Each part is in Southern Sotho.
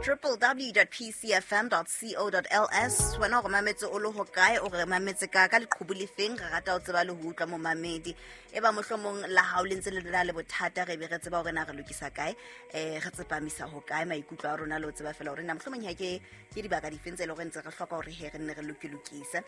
www.pcfm.co.ls. Wena o re mametse o le hokae, o re mametse ka leqhubu le feng? Re rata ho tseba le ho utlwa, momamedi. E ba mohlomong la hao le ntse le na le bothata, re be re tseba hore na re lokisa kae, re tsepamisa hokae maikutlo a rona, le ho tseba fela hore na mohlomong ha ke dibaka difeng tse e leng hore ntse re hloka hore he re nne re lokilokise.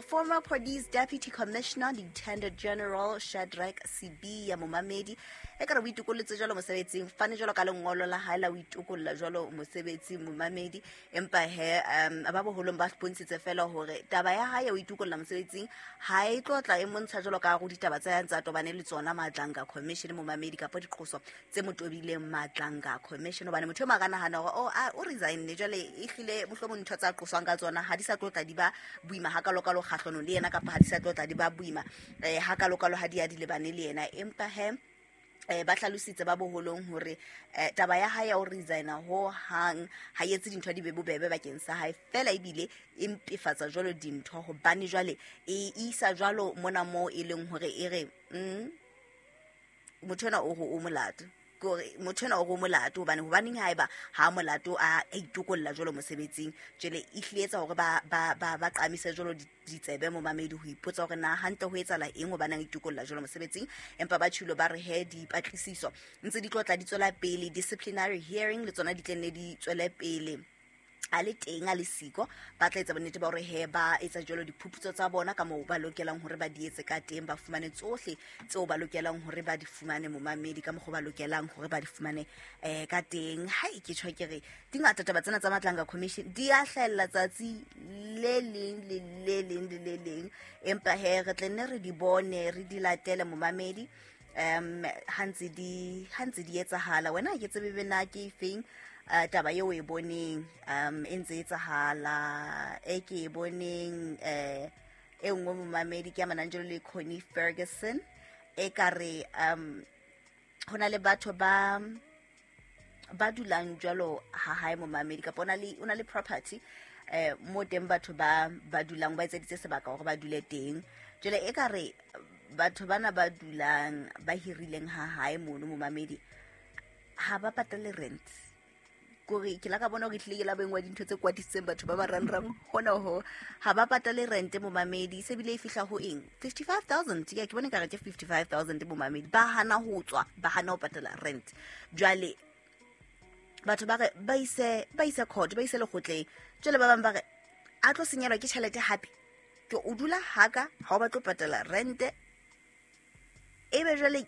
Former Police Deputy Commissioner, Lieutenant General Shadrack Sibiya, momamedi, e ka re o itokolletse jwalo mosebetsing, fane jwalo ka lengolo la hae la o itokolla jwalo mosebetsing, momamedi. Empa he ba boholong ba bontshitse fela hore taba ya hae ya ho itokolla mosebetsing ha e tlo tla e montsha jwalo ka go ditaba tse ntse a tobane le tsona Madlanga Commission, momamedi, kapa diqoso tse mo tobileng Madlanga Commission, hobane motho e mong a ka nahana hore oh, o resigne jwale, ehlile mohlomong ntho tsa qoswang ka tsona ha di sa tlo tla di ba boima hakalokalo kgahlano le yena, kapa ha di sa tlo tla di ba boima hakalokalo ha di ya di lebane le yena. Empa he ba hlalositse ba boholong hore taba ya hae ya ho resigna ho hang ha e etse dintho di be bobebe bakeng sa hae fela, ebile e mpefatsa jwalo dintho, hobane jwale e isa jwalo mona moo e leng hore e re motho ena o re o molato, kore motho ena o re o molato, hobane hobaneng haeba ha molato a itokolla jwalo mosebetsing? Jwale e hlile etsa hore ba qamise jwalo ditsebe, momamedi, ho ipotsa hore na hantle ho etsahala eng, hobane a itokolla jwalo mosebetsing. Empa ba tjhilo ba re he dipatlisiso ntse di tlo tla di tswela pele, disciplinary hearing le tsona di tla nne di tswele pele. A le teng a le siko, ba tla etsa bonnete ba hore he ba etsa jwalo diphuputso tsa bona ka moo ba lokelang hore ba di etse ka teng, ba fumane tsohle tseo ba lokelang hore ba di fumane, momamedi, ka mokgwa ba lokelang hore ba di fumane ka teng. Ha e ke tjho ke re di ngata taba tsena tsa Madlanga Commission, di a hlahella tsatsi le leng le le leng le le leng, empa he re tle nne re di bone, re di latele, momamedi, ha ntse di etsahala. Wena ha ke tsebe be na ke efeng taba eo e boneng e ntse etsahala, e ke e boneng e nngwe, momamedi, ke amanang jalo le Connie Ferguson. E ka re ho na le batho ba dulang jwalo ha hae, momamedi, kapa o na le property mo teng batho ba dulang, ba etseditse sebaka hore ba dule teng. Jwale e ka re batho bana ba dulang, ba hirileng ha hae mono, momamedi, ha ba patale rent. Kore ke la ka bona hore tlile ke la bengwa dintho tse kwatisitseng batho ba marangrang hona ho ha ba patale rent, momamedi, se bile e fihla ho eng, 55 000. Ya, ke bone ka re ke 55 000, momamedi. Ba hana ho tswa, ba hana ho patala rent. Jwale batho ba re ba ise court, ba ise lekgotleng. Jwale ba bang ba re a tlo senyelwa ke tjhelete hape, ke o dula haka ha o batle ho patala rente, ebe jwale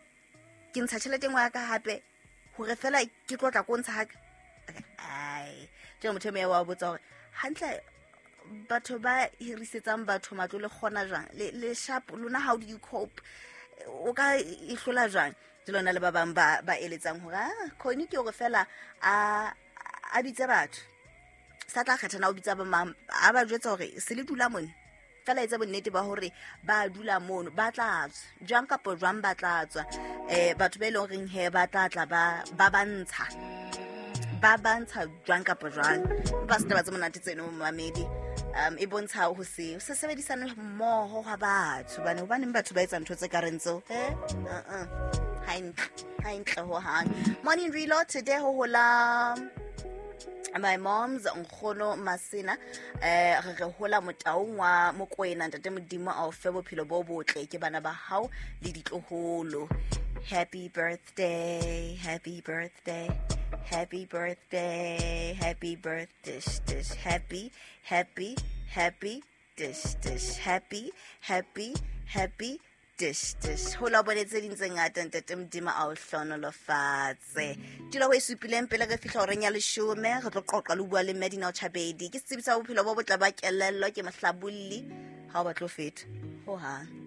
ke ntsha tjhelete engwe ya ka hape hore fela ke tlo tla ko ntsha haka. Ai, jwale motho e moya wa botsa hore hantle batho ba hirisetsang batho matlo le kgona jwang le sharp lona? How do you cope? O ka e hlola jwang? Ke lona le ba bang ba eletsang hore ah, Connie ke hore fela a bitse batho, sa tla kgetha na o bitsa ba mang, a ba jwetsa hore se le dula mone fela, etsa bonnete ba hore ba dula mono, ba tla tswa jwang kapa jwang, ba tla tswa. Batho ba e leng horeng he ba tla tla ba bantsha jwang kapa jwang. Ba se taba tse monate tseno, momamedi, e bontsha ho se sebedisane mmoho hwa batho, bane hobaneng batho ba etsa ntho tse ka reng tseo? Uh-uh. Ha e ntle, ha e ntle hohang. Morning Reload today ho hola my mom's nkgono Masena, re hola Motaung wa Mokwena. Ntate Modimo a o fe bophelo bo botle ke bana ba hao le ditloholo. Happy birthday, happy birthday, happy birthday, happy birthday dish, happy, happy, happy dish dish, happy, happy, happy dish dish. Ho la bone tse ding tse ngata. Ntate Modimo a o hlonolofatse. Tulo ho e supileng pele re fihla horeng ya 10, re tlo qoqa le ho bua le Medina Chabedi, ke setsebi sa bophelo bo botle ba kelello, ke mohlabolli. Ha o batlo feta hohang.